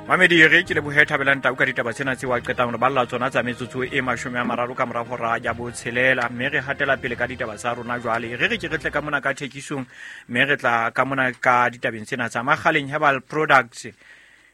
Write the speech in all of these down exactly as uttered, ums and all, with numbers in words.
Mamedi re ke lebohe Thabelang Tau ka ditaba tsena tse wa qetang re balla tsona tsa metsotso e mashome a mararo ka mora hora ya botshelela, mme re hatela pele ka ditaba tsa rona jwale. Re re ke re tle ka mona ka thekisong, mme re tla ka mona ka ditabeng tsena tsa Makgaleng Herbal Products.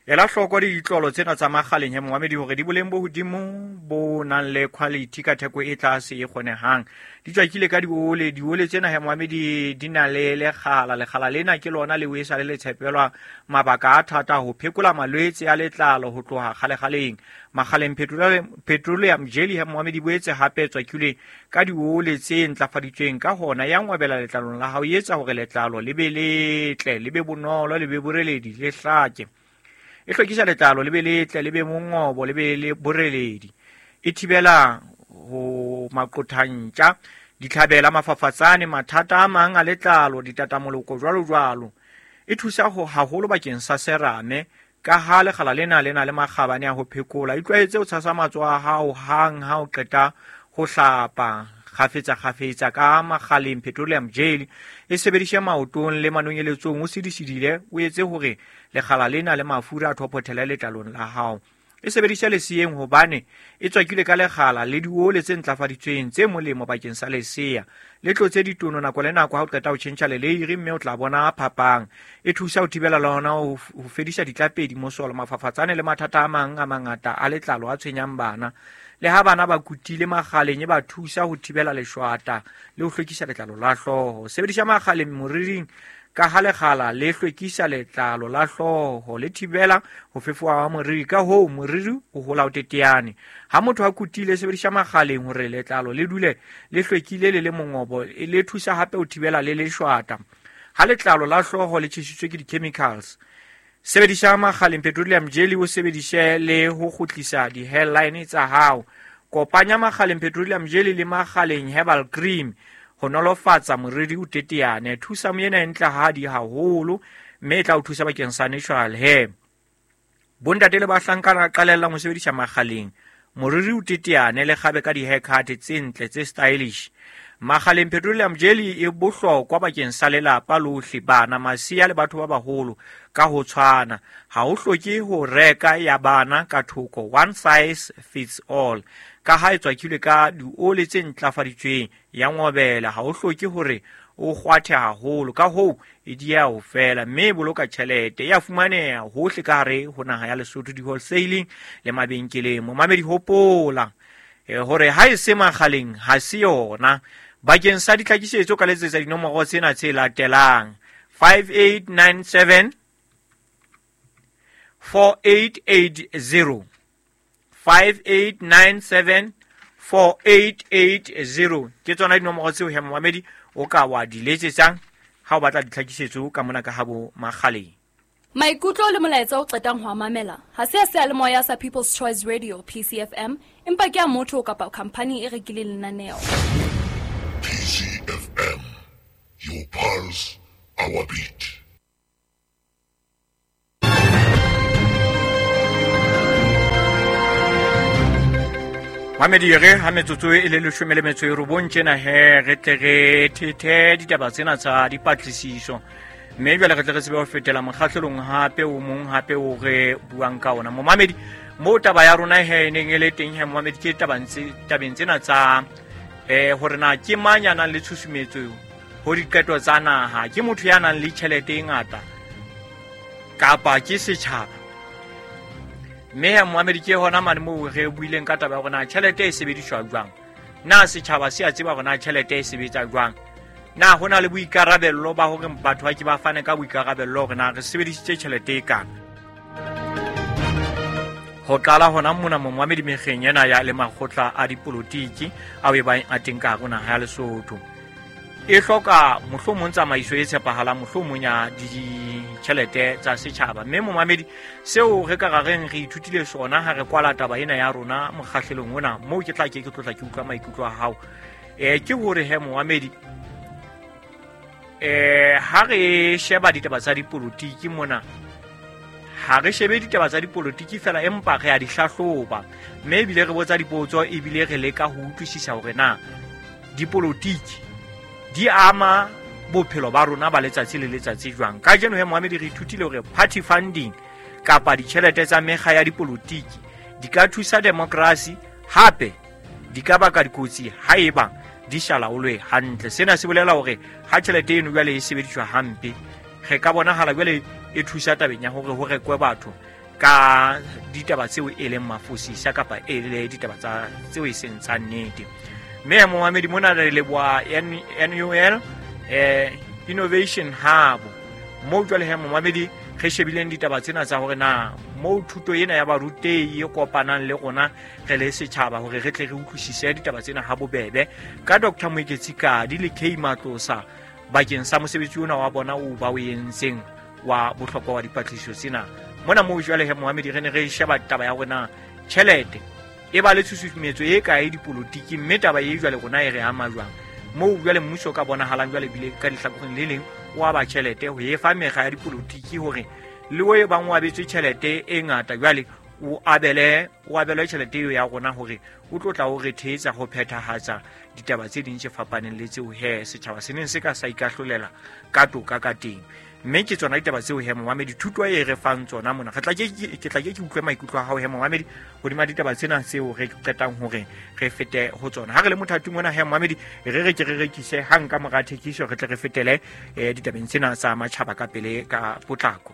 Ela hloko ditlolo tsena tsa Makgaleng he momamedi hore di boleng bo hodimo bo nang le quality ka theko e tlase e kgonehang. Di tswakile ka diole, diole tsena he momamedi di na le lekgala, lekgala lena ke lona le o e sa le le tshepelwa mabaka a thata ho phekola malwetse a letlalo ho tloha kgalekgaleng. Makgaleng petroleum, petroleum jelly he momamedi boetse hape tswakile ka diole tse ntlafaditsweng, ka hona ya ngwabela letlalong la hao, e etsa hore letlalo le be letle, le be bonolo, le be boreledi, le hlake. E hlwekisa letlalo le be letle, le be mongobo, le be le boreledi. E thibela ho maqothantja, ditlhabela, mafafatsane, mathata a mang a letlalo, ditatamoloko jwalo jwalo. E thusa ho haholo bakeng sa serame, ka ha lekgala lena le na le makgabane a ho phekola. Itlwaetse ho tshasa matsoho a hao hang ha o qeta ho hlapa kgafetsa kgafetsa ka Makgaleng petroleum jelly. E sebedishe maotong le manonyeletsong, o sidisidile, o etse hore lekgala lena le mafura a thophothele letlalong la hao. E sebedishe leseyeng hobane e tswakilwe ka lekgala le diole tse ntlafaditsweng tse molemo bakeng sa lesea. Le tlotse ditono nako le nako ha o qeta ho tjhentjha leleiri, mme o tla bona phapang. E thusa ho thibela le hona ho fedisa ditlapedi, mosolo, mafafatsane le mathata a mang a mangata a letlalo a tshwenyang bana. Le ha bana ba kutile Makgaleng, e ba thusa ho thibela leshwata le ho hlwekisa letlalo la hlooho. Sebedisa Makgaleng moriring ka ha lekgala le hlwekisa letlalo la hlooho, le thibela ho fefoha ha moriri, ka hoo moriri o hola o teteane. Ha motho a kutile, sebedisa Makgaleng hore letlalo le dule le hlwekile le le mongobo, le thusa hape ho thibela le leshwata. Ha letlalo la hlooho le tjhesitswe ke di-chemicals, sebedisa Makgaleng petroleum jelly, o sebedise le ho kgutlisa di-hairline tsa hao. Kopanya Makgaleng petroleum jelly le Makgaleng herbal cream ho nolofatsa moriri o teteane. Thusa moena e ntlehadi haholo, mme e tla o thusa bakeng sa natural hair. Bontate le bahlankana qalellang ho sebedisa Makgaleng moriri o teteane, le kgabe ka di-haircut tse ntle tse stylish. Makgaleng petroleum jelly e bohlokwa bakeng sa lelapa lohle, bana, masea le batho ba baholo ka ho tshwana. Ha ho hloke ho reka ya bana ka thoko, one size fits all. Ka ha e tswakilwe ka diole tse ntlafaditsweng, ya ngobela, ha ho hloke hore o kgwathe haholo, ka hoo e dieha ho fela, mme e boloka tjhelete. E a fumaneha hohle ka hare ho naha ya Lesotho, di-wholesaling le mabenkeleng. Momamedi, hopola hore ha e se Makgaleng ha se yona. Bakeng sa ditlhakisetso ka letsetsa dinomoro tsena tse latelang: five eight nine seven four eight eight zero, five eight nine seven four eight eight zero. Ke tsona dinomoro tseo he momamedi o ka wa di letsetsang ha o batla ditlhakisetso ka mona ka habo Makgaleng. Maikutlo le molaetsa o qetang ho mamela ha se a seyalemoya sa People's Choice Radio P C F M, empa ke a motho kapa khampani e rekileng lenaneo. P C F M, your pulse, our beat. Mamedi re ha metsotso e le leshome le metso e robong tjena he re tle re thethe ditaba tsena tsa dipatlisiso, mme jwale re tle re tsebe ho fetela mokgahlelong hape o mong hape o re buang ka ona. Momamedi, moo taba ya rona he e neng e le teng he momamedi ke tabeng tsena tsa eh hore na ke mang ya nang le tshusumetso ho diqeto tsa naha, ke motho ya nang le tjhelete e ngata kapa ke setjhaba. Mme he momamedi ke hona mane moo re buileng ka taba ya hore na tjhelete e sebediswa jwang, na setjhaba se a tseba hore na tjhelete e sebetsa jwang, na ho na le boikarabello ba hore batho ba ke ba fane ka boikarabello hore na re sebedisitse tjhelete e kana. Ho qala hona mona momamedi mekgeng ena ya le makgotla a dipolotiki ao e bang a teng ka hare ho naha ya Lesotho. E hloka mohlomong tsamaiso e tshepahalang, mohlomong ya ditjhelete tsa setjhaba. Mme momamedi, seo re ka reng re ithutile sona ha re kwala taba ena ya rona mokgahlelong ona, moo ke tla ke ke tlotla ke utlwa maikutlo a hao, eh ke hore he momamedi, eh ha re sheba ditaba tsa dipolotiki mona, ha re shebe ditaba tsa dipolotiki fela, empa re a di hlahloba, mme ebile re botsa dipotso, ebile re leka ho utlwisisa hore na dipolotiki di ama bophelo ba rona ba letsatsi le letsatsi jwang. Kajeno he momamedi re ithutile hore party funding kapa ditjhelete tsa mekga ya dipolotiki di ka thusa demokrasi, hape di ka baka dikotsi haeba di sa laolwe hantle. Sena se bolela hore ha tjhelete eno jwale e sebediswa hampe, re ka bonahala jwale e thusa tabeng ya hore ho rekwe batho ka ditaba tseo e leng mafosisa kapa e le ditaba tsa tseo e seng tsa nnete. Mme momamedi mona re leboha N U L eh Innovation Hub moo jwale he momamedi re shebileng ditaba tsena tsa hore na moo thuto ena ya barutehi e kopanang le rona re le setjhaba hore re tle re utlwisise ditaba tsena ha bobebe ka Doctor Moeketsi Kadi le K Matlosa bakeng sa mosebetsi ona wa bona o ba o entseng wa bohlokwa wa dipatlisiso tsena. Mona moo jwale he momamedi re ne re sheba taba ya rona tjhelete e ba le tshusumetso e kae dipolotiki, mme taba e jwale rona e re ama jwang moo jwale mmuso ka bonahalang jwale bile ka dihlakoreng le leng o aba tjhelete ho e fa mekga ya dipolotiki hore le o e bang o abetswe tjhelete e ngata jwale o abele o abelwe tjhelete eo ya rona hore o tlo tla o re thetsa ho phethahatsa ditaba tse ding tse fapaneng le tseo he setjhaba se neng se ka sa ikahlolela ka toka ka teng. Mme ke tsona ditaba tseo he momamedi thuto e re fang tsona mona. Re tla ke ke tla ke ke utlwe maikutlo a hao he momamedi hodima ditaba tsena tseo re qetang hore re fete ho tsona. Ha re le mothating ona he momamedi re re ke re rekise hang ka mora thekiso re tle re fetele ditabeng tsena tsa matjhaba ka pele ka potlako.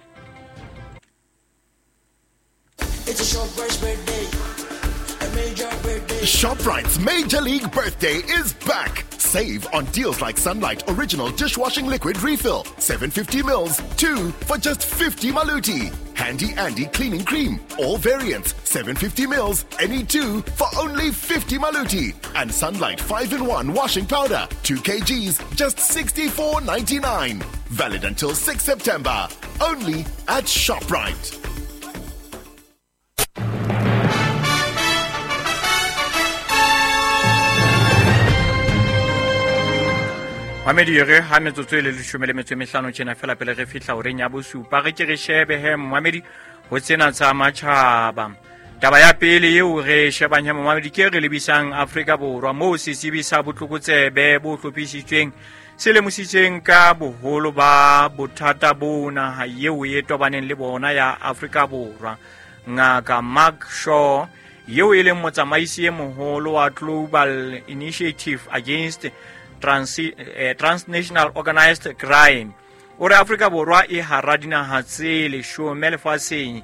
It's a ShopRite's birthday. A major birthday. ShopRite's Major League Birthday is back. Save on deals like Sunlight Original Dishwashing Liquid Refill, seven hundred fifty mils, two for just fifty maluti. Handy Andy Cleaning Cream, all variants, seven hundred fifty mils, any two for only fifty maluti. And Sunlight five in one Washing Powder, two kilograms, just sixty-four ninety-nine. Valid until sixth September. Only at ShopRite. Mamedi re ha metsotso e le leshome le metso e mehlano tjena fela pele re fihla horeng ya bosupa re ke re shebe he momamedi ho tsena tsa matjhaba. Taba ya pele eo re shebang he momamedi ke re lebisang Afrika Borwa moo setsebi sa botlokotsebe bo hlophisitsweng se lemositseng ka boholo ba bothata bo naha eo e tobaneng le bona ya Afrika Borwa. Ngaka Mark Shaw eo e leng motsamaisi e moholo wa Global Initiative Against Trans, eh, Transnational Organized Crime o re Afrika Borwa e hara dinaha tse leshome lefatsheng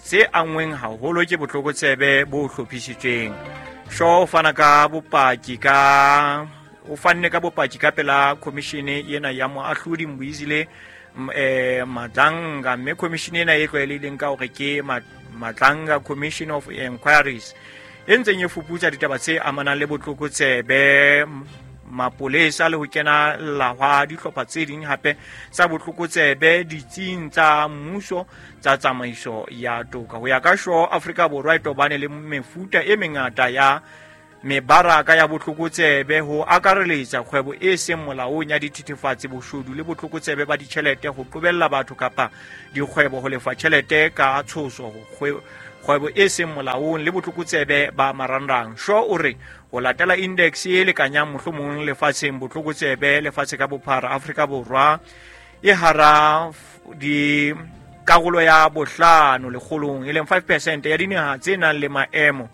tse angweng haholo ke botlokotsebe bo hlophisitsweng. Shaw o fana ka bopaki ka o fanne ka bopaki ka pela commission ena ya moahlodi Mbuyisile eh Madlanga, mme commission ena e tlwaelehileng ka hore ke Madlanga Commission of Inquiries e ntseng e fuputsa ditaba tse amanang le botlokotsebe, mapolesa le ho kena la hwa dihlopha tse ding hape tsa botlokotsebe ditsing tsa mmuso tsa tsamaiso ya toka. Ho ya ka Shaw, Afrika Borwa e tobane le mefuta e mengata ya mebaraka ya botlokotsebe ho akareletsa kgwebo e seng molaong ya dithethefatsi, boshodu le botlokotsebe ba ditjhelete, ho qobella batho kapa dikgwebo ho lefa tjhelete ka tshoso, kgwebo e seng molaong le botlokotsebe ba marangrang. Shaw o re ho latela index e lekanyang mohlomong lefatsheng botlokotsebe lefatshe ka bophara, Afrika Borwa e hara di karolo ya bohlano lekgolong e leng five percent ya dinaha tse nang le maemo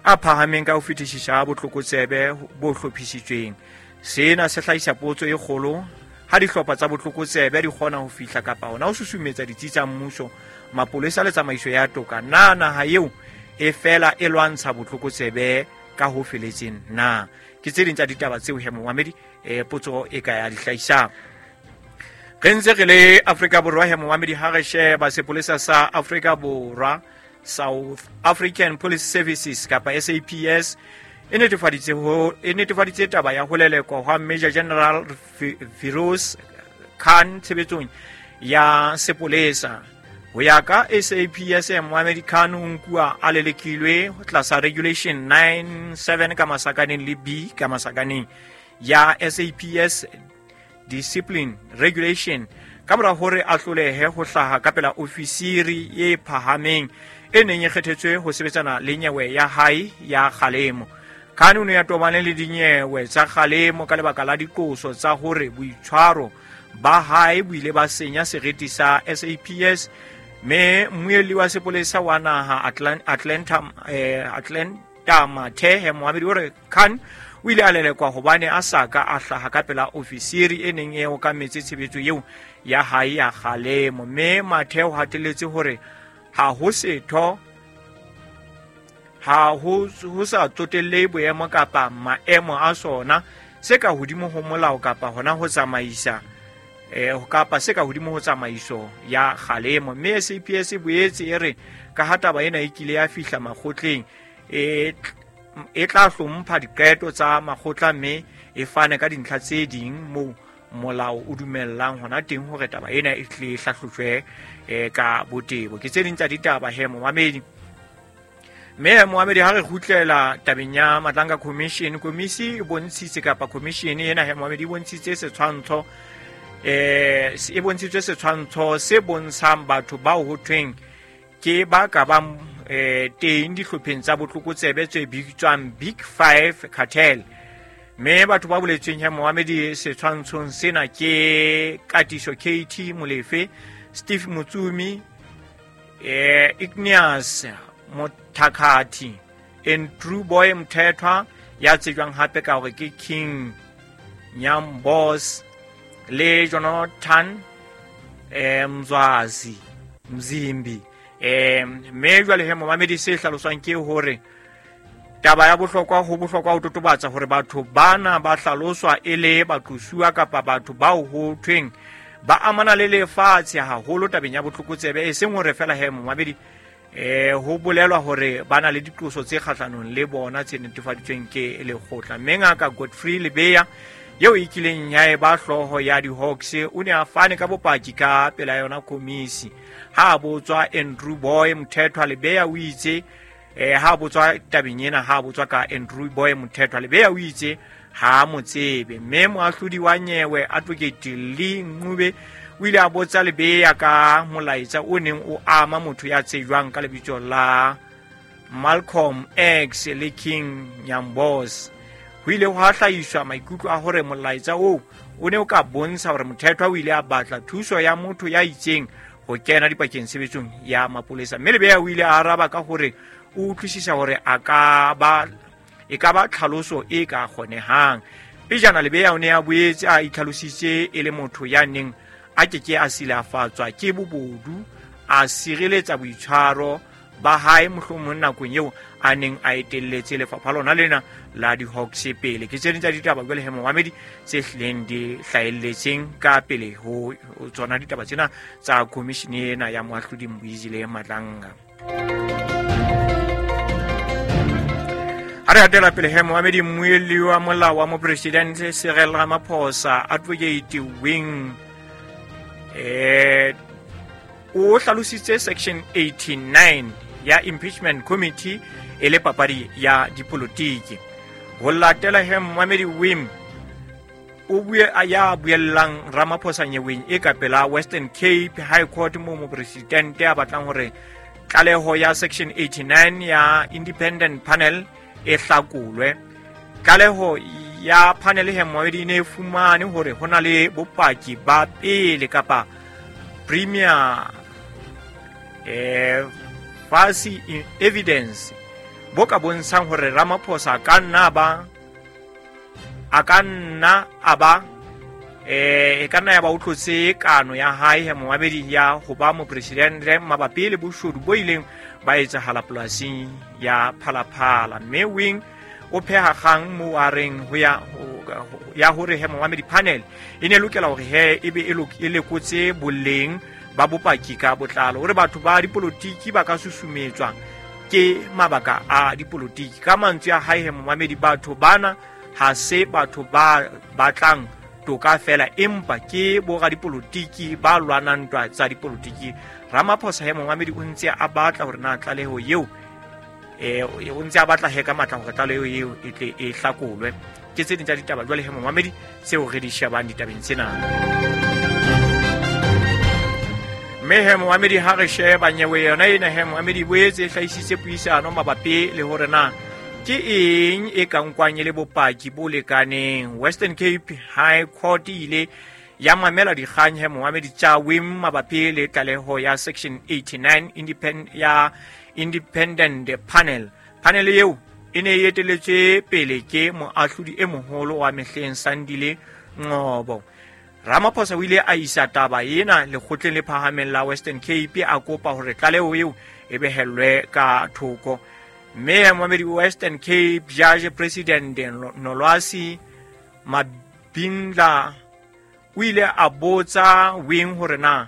a phahameng ka ho fetisisa botlokotsebe bo hlophisitsweng. Sena se hlahisa potso e kgolo ha dihlopha tsa botlokotsebe di kgona ho fihla kapa hona ho susumetsa ditsi tsa mmuso, mapolesa le tsamaiso ya toka. Na naha eo e fela e lwantsha botlokotsebe ka ho feletseng na? Ke tse ding tsa ditaba tseo he momamedi e potso e ka ya di hlahisang. Re ntse re le Afrika Borwa he momamedi ha re sheba sepolesa sa Afrika Borwa, South African Police Services kapa S A P S e netefaditse ho e netefaditse taba ya ho lelekwa hwa Major General Firoz Khan tshebetsong ya sepolesa. Ho ya ka S A P S, Mohamed Khan o nkuwa a lelekilwe tlasa Regulation nine seven ka masakaneng le B ka masakaneng ya S A P S Discipline Regulation ka mora hore a hlolehe ho hlaha ka pela ofisiri e phahameng e neng e kgethetswe ho sebetsana le nyewe ya hae ya kgalemo. Khan o ne a tobane le dinyewe tsa kgalemo ka lebaka la diqoso tsa hore boitshwaro ba hae bo ile ba senya seriti sa S A P S Mme mmuelli wa sepolesa wa naha Atlanta eh, Atlanta Mathe Mohamedi o re Khan o ile a lelekwa hobane a sa ka a hlaha ka pela ofisiri e neng e okametse tshebetso eo ya hae ya kgalemo. Mme Mathe o hatelletse hore ha ho setho ha ho ho sa tsotelle boemo kapa maemo a sona se ka hodimo ho molao kapa hona ho tsamaisa eh kapa se ka hodimo ho tsamaiso ya kgalemo. Mme S A P S e boetse e re ka ha taba ena e kile ya fihla makgotleng e e tla hlompha diqeto tsa makgotla mme e fane ka dintlha tse ding moo molao o dumellang hona teng hore taba ena e tle hlahlojwe ka botebo. Ke tse ding tsa ditaba he momamedi. Mme momamedi ha re kgutlela tabeng ya Madlanga Commission, komisi e bontshitse kapa commission ena he momamedi e bontshitse setshwantsho eh e bontshitswe setshwantsho se bontshang batho bao ho thweng ke ba ka bang eh teng dihlopheng tsa botlokotsebe tse bitswang Big Five Cartel. Mme batho ba boletsweng he momamedi setshwantshong sena ke Katiso K T Molefe, Steve Mutsumi, eh Igneous Mothakathi, Andrew Boy Mthethwa ya tsejwang hape ka hore ke King Nyambos, le Jonathan eh Mzwazi Mzimbi. Eh mme jwale he momamedi se hlaloswang ke hore taba ya bohlokwa ho bohlokwa ho totobatsa hore batho bana ba hlaloswa e le baqosuwa kapa batho bao ho thweng ba amana le lefatshe haholo tabeng ya botlokotsebe, e seng hore fela he momamedi eh ho bolelwa hore ba na le diqoso tse kgahlanong le bona tse netefaditsweng ke lekgotla. Mme ngaka Godfrey Lebeya eo e kileng ya eba hlooho ya di-Hawks o ne a fane ka bopaki ka pela yona komisi. Ha botswa Andrew Boy Mthethwa, Lebeya o itse eh ha botswa tabeng ena ha botswa ka Andrew Boy Mthethwa, Lebeya o itse ha mo tsebe. Mme moahlodi wa nyewe Advocate Lee Ncube o ile a botsa Lebeya ka molaetsa o neng o ama motho ya tsejwang ka lebitso la Malcolm X le King Nyambos. Ho ile hwa hlahiswa maikutlo a hore molaetsa oo o ne o ka bontsha hore Mthethwa o ile a batla thuso ya motho ya itseng ho kena dipakeng tshebetsong ya mapolesa. Mme Lebeya o ile a araba ka hore o utlwisisa hore a ka ba e ka ba tlhaloso e ka kgonehang. Pejana Lebeya o ne a boetse a itlhalositse e le motho ya neng a keke a silafatswa ke bobodu, a sireletsa boitshwaro ba hae mohlomong nakong eo a neng a etelletse lefapha lona lena la di-Hawks pele. Ke tse ding tsa ditaba jwale he momamedi tse hlileng di hlahelletseng ka pele ho tsona ditaba tsena tsa commission ena ya moahlodi Mbuyisile Madlanga. Ha re hatela pele he momamedi, mmuelli wa molao wa mopresidente Cyril Ramaphosa Advocate Wing eh o hlalositse section eighty-nine ya impeachment committee e le papadi ya dipolotiki. Ho latela he momamedi Wim o bue a ya buellang Ramaphosa nyeweng e ka pela Western Cape High Court mo mopresidente a batlang hore tlaleho ya section eighty-nine ya independent panel e hlakolwe. Tlaleho ya panel he momamedi e ne fumane hore ho na le bopaki ba pele kapa premier eh fasi evidence bo ka bontshang hore Ramaphosa ka nna ba a ka nna a ba eh e ka nna ya ba o tlotse kano ya hae he momamedi ya ho ba mopresidente mabapi le boshodu bo ileng ba etsahala polasing ya Phalaphala. Mme Wing o pheha kgang mo a reng ho ya ya hore he momamedi panel e ne lokela hore he ebe e lekotse boleng ba bopaki ka botlalo, hore batho ba dipolotiki ba ka susumetswa ke mabaka a dipolotiki. Ka mantswe a hae he momamedi, batho bana ha se batho ba batlang toka fela, empa ke boradipolotiki ba lwanang ntwa tsa dipolotiki. Ramaphosa he momamedi o ntse a batla hore na tlaleho eo eh o ntse a batla he ka matla hore tlaleho eo e tle e hlakolwe. Ke tse ding tsa ditaba jwale he momamedi tseo re di shebang ditabeng tsena. Mme he momamedi ha re sheba nyewe yona ena he momamedi boetse e hlahisitse puisano mabapi le hore na ke eng e ka nkwang e le bopaki bo lekaneng. Western Cape High Court ile ya mamela dikgang he momamedi tsa W I M mabapi le tlaleho ya Section eighty-nine independent ya Independent Panel. Panel eo e ne e eteletswe pele ke moahlodi e moholo wa mehleng Sandile Ngcobo. Ramaphosa o ile a isa taba ena lekgotleng le phahameng la Western Cape a kopa hore tlaleho eo e behellwe ka thoko. Mme momamedi Western Cape Judge President Nolwazi Mabindla o ile a botsa W I M hore na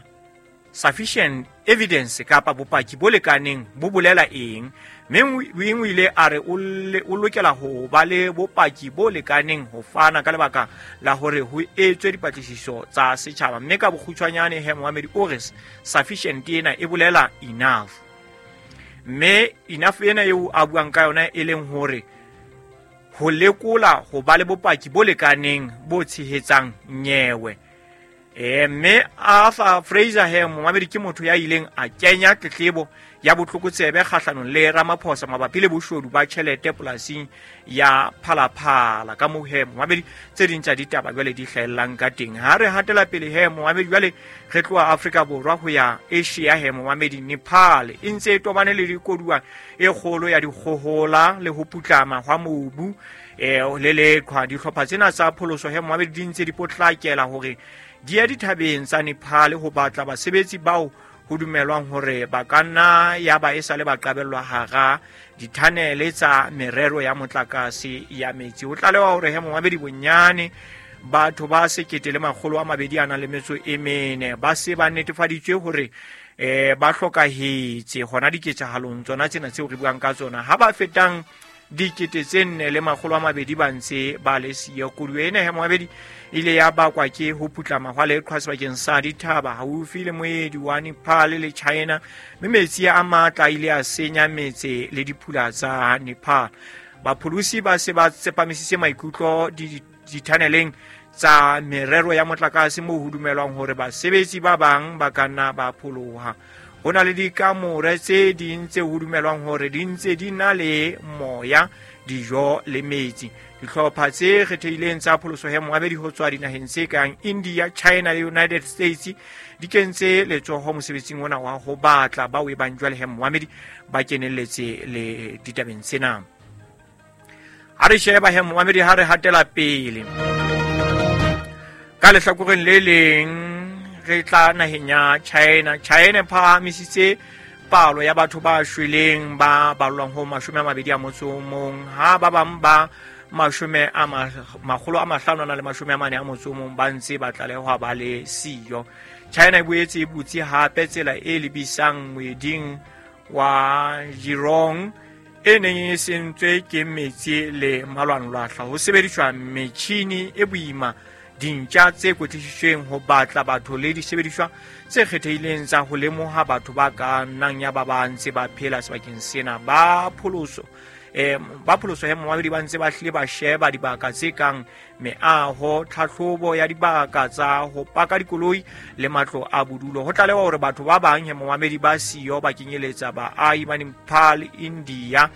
sufficient evidence kapa bopaki bo lekaneng bo bolela eng. Mme W I M o ile a re o lokela ho ba le bopaki bo lekaneng ho fana ka lebaka la hore ho etswe dipatlisiso tsa setjhaba. Mme ka bokgutshwanyane he momamedi o re sufficient ena e bolela enough. Mme enough ena eo a buang ka yona e leng hore ho lekola ho ba le bopaki bo lekaneng bo tshehetsang nyewe. E mme Arthur Fraser he momamedi ke motho ya ileng a kenya tletlebo ya botlokotsebe kgahlanong le Ramaphosa mabapi le boshodu ba tjhelete polasing ya Phalaphala. Ka moo he momamedi tse ding tsa ditaba jwale di hlahellang ka teng. Ha re hatela pele he momamedi jwale re tloha Afrika Borwa ho ya Asia he momamedi Nepal e ntse e tobane le dikoduwa e kgolo ya dikgohola le ho putlama hwa mobu e le leqhwa. Dihlopha tsena tsa pholoso he momamedi di ntse di potlakela hore di ya dithabeng tsa Nepal ho batla basebetsi bao ho dumelwang hore ba ka nna ya ba e sale ba qabellwa hara dithanele tsa merero ya motlakase ya metsi. Ho tlalewa hore he momamedi bonyane batho ba sekete le makgolo a mabedi a nang le metso e mene ba se ba netefaditswe hore eh ba hlokahetse hona diketsahalong tsona tsena tseo re buang ka tsona. Ha ba fetang dikete tse nne le makgolo a mabedi ba ntse ba le siyo. Koduwa ena he momamedi ile ya bakwa ke ho putlama hwa leqhwa sebakeng sa dithaba haufi le moedi wa Nepal le China, mme metsi a matla a ile a senya metse le diphula tsa Nepal. Bapholosi ba se ba tsepamisitse maikutlo dithaneleng tsa merero ya motlakase moo ho dumelwang hore basebetsi ba bang ba ka nna ba pholoha. Ho na le dikamore tse ding tse ho dumelwang hore di ntse di na le moya, dijo le metsi. Dihlopha tse kgethehileng tsa pholoso he momamedi ho tswa dinaheng tse kang India, China le United States di kentse letsoho mosebetsing ona wa ho batla bao e bang jwale he momamedi ba kenelletse le ditabeng tsena. Ha re sheba he momamedi ha re hatela pele ka lehlakoreng le leng re tla naheng ya China. China e phahamisitse palo ya batho ba shweleng ba balwang ho mashome a mabedi a motso o mong, ha ba bang ba mashome a makgolo a mahlano a na le mashome a mane a motso o mong ba ntse ba tlalehwa ba le siyo. China e boetse e butse hape tsela e lebisang moeding wa Jirong e neng e sentswe ke metsi le malwanlwahla. Ho sebediswa metjhini e boima, dintja tse kwetlisitsweng ho batla batho le disebediswa tse kgethehileng tsa ho lemoha batho ba ka nnang ya ba ba ntse ba phela sebakeng sena. Ba pholoso eh ba pholoso he momamedi ba ntse ba hlile ba sheba dibaka tse kang meaho, tlhahlobo ya dibaka tsa ho paka dikoloi le matlo a bodulo. Ho tlalewa hore batho ba bang he momamedi ba siyo ba kenyeletsa baahi ba Nepal, India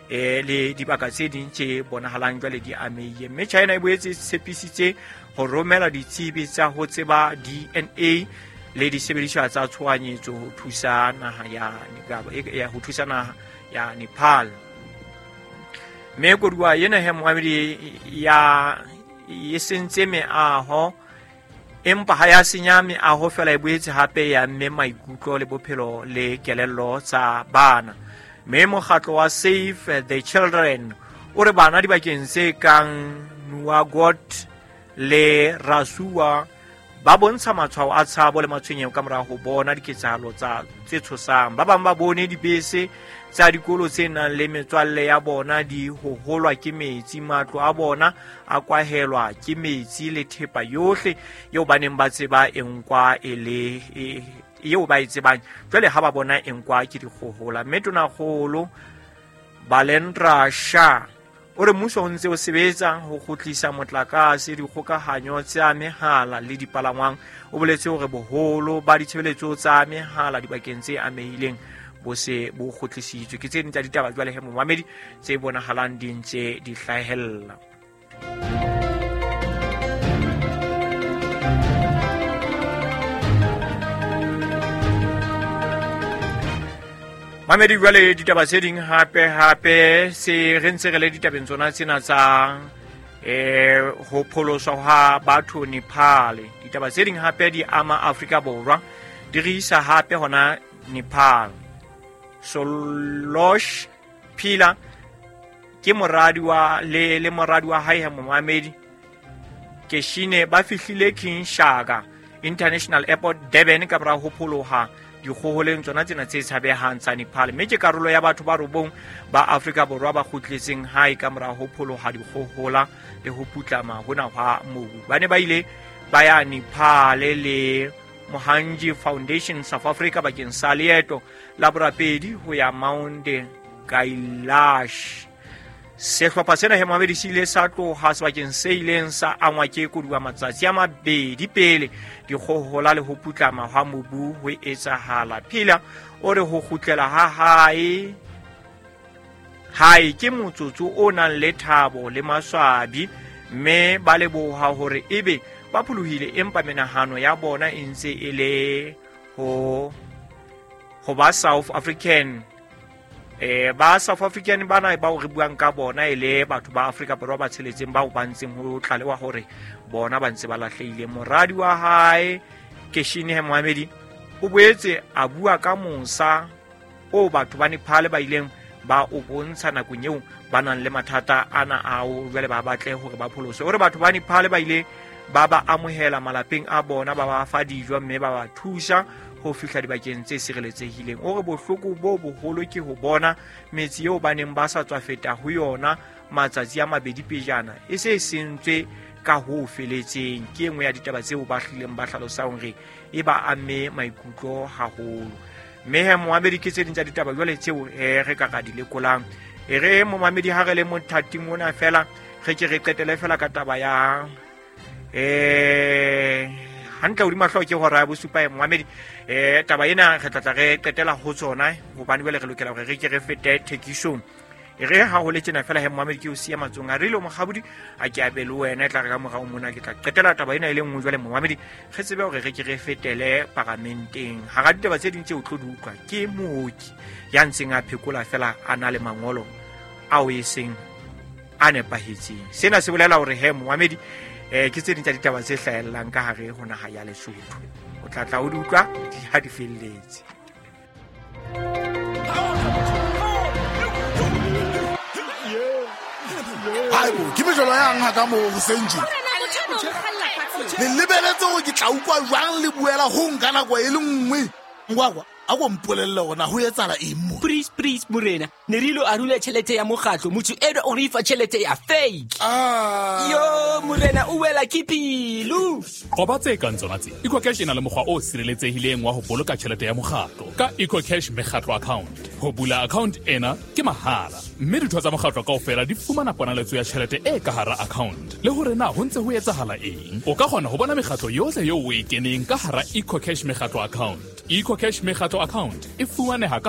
eh le dibaka tse ding tse bonahalang jwale di amehile. Mme China e boetse e tshepisitse ho romela ditsebi tsa ho tseba D N A le disebediswa tsa tshohanyetso ho thusa naha ya ya ho thusa naha ya Nepal. Mme koduwa ena he momamedi ya e sentse meaho, empa ha ya senya meaho fela, e boetse hape ya mme maikutlo le bophelo le kelello tsa bana. Mme mokgatlo wa Save the Children o re bana dibakeng tse kang Nuagot le Rasuwa ba bontsha matshwao a tshabo le matshwenyeho ka mora ho bona diketsahalo tsa tse tshosang. Ba bang ba bone dibese tsa dikolo tse nang le metswalle ya bona di hoholwa ke metsi, matlo a bona a kwahelwa ke metsi le thepa yohle eo ba neng ba tseba e nkwa e le eo ba e tsebang jwale ha ba bona e nkwa ke dikgohola. Mme Tonakgolo Balendra Shah o re mmuso o ntse o sebetsa ho kgutlisa motlakase, dikgokahanyo tsa mehala le dipalangwang. O boletse hore boholo ba ditshebeletso tsa mehala dibakeng tse amehileng bo se bo kgutlisitswe. Ke tse ding tsa ditaba jwale he momamedi tse bonahalang di ntse di hlahella. Mamedi jwale ditaba tse ding hape hape se re ntse re le ditabeng tsona tsena tsa eh ho pholoswa ha batho Nepal. Ditaba tse ding hape di ama Afrika Borwa, di re isa hape hona Nepal. Solosh Phila ke moradi wa le le moradi wa hae momamedi Keshine ba fihlile King Shaka International Airport Durban ka bora ho pholoha dikgoholeng tsona tsena tse tshabehang tsa Nepal, mme ke karolo ya batho ba robong ba Afrika Borwa ba kgutletseng hae ka mora ho pholoha dikgohola le ho putlama hona hwa mobu. Ba ne ba ile ba ya Nepal le Mohanji Foundation South Africa bakeng sa leeto la borapedi ho ya Mount Kailash. Sehlopha sena he mohamedi se ile sa tloha sebakeng se ileng sa angwa ke koduwa matsatsi a mabedi pele dikgohola le ho putlama hwa mobu ho etsahala. Phila o re ho kgutlela ha hae hae ke motsotso o nang le thabo le maswabi, mme ba leboha hore ebe ba pholohile, empa menahano ya bona e ntse e le ho ho ba South African. Eh ba South African bana bao re buang ka bona e le batho ba Afrika Borwa ba tsheletseng bao ba ntseng ho tlalewa hore bona ba ntse ba lahlehile. Moradi wa hae Keshine Mohamedi o boetse a bua ka mosa o batho ba Nepal ba ileng ba o bontsha nakong eo ba nang le mathata ana ao jwale ba batle hore ba pholoswe. O re batho ba Nepal ba ile ba ba amohela malapeng a bona, ba ba fa dijo mme ba ba thusa ho fihla dibakeng tse sireletsehileng. O re bohloko bo boholo ke ho bona metse eo ba neng ba sa tswa feta ho yona matsatsi a mabedi pejana e se e sentswe ka ho feletseng. Ke e nngwe ya ditaba tseo ba hlileng ba hlalosang hore e ba amme maikutlo haholo. Mme he momamedi ke tse ding tsa ditaba jwale tseo eh, re ka ka di lekolang. E re momamedi ha re le mothating ona fela re ke re qetele fela ka taba ya eh hantle hodima hlooho ke hora ya bosupa e momamedi. Eh taba ena re tla tla re qetela ho tsona hobane jwale re lokela hore re ke re fete thekisong. E re ha ho le tjena fela he momamedi ke o siya matsong a rile mokgabodi a ke abe le wena, e tla re ka morao mona ke tla qetela taba ena e le nngwe jwale momamedi re tsebe hore re ke re fetele paramenteng. Hara ditaba tse ding tse o tlo di utlwa ke mooki ya ntseng a phekola fela a na le mangolo ao e seng a nepahetseng. Sena se bolela hore he momamedi eh ke tse ding tsa ditaba tse hlahellang ka hare ho naha ya Lesotho. O tla tla o di utlwa di ha di felletse. Haibo, ke mejolo yang ha ka mo hoseng tje. Le lebeletse hore ke tla utlwa jwang le buela ho nka nako e le nngwe. Ngwakwa, a ko mpolelle hore na ho etsahala eng mo. Please, please morena, ne re ilo arula tjhelete ya mokgatlo, motho eno o re fa tjhelete ya fake. Ah. Yo morena o wela ke pelo. Qoba tse kang tsona tse. EcoCash e na le mokgwa o sireletsehileng wa ho boloka tjhelete ya mokgatlo ka EcoCash mekgatlo account. Ho bula account ena ke mahala, mme ditho tsa mokgatlo kaofela di fumana ponaletso ya tjhelete e ka hara account. Le hore na ho ntse ho etsahala eng, o ka kgona ho bona mekgatlo yohle eo o e keneng ka hara EcoCash mekgatlo account. EcoCash mekgatlo account e fumaneha ka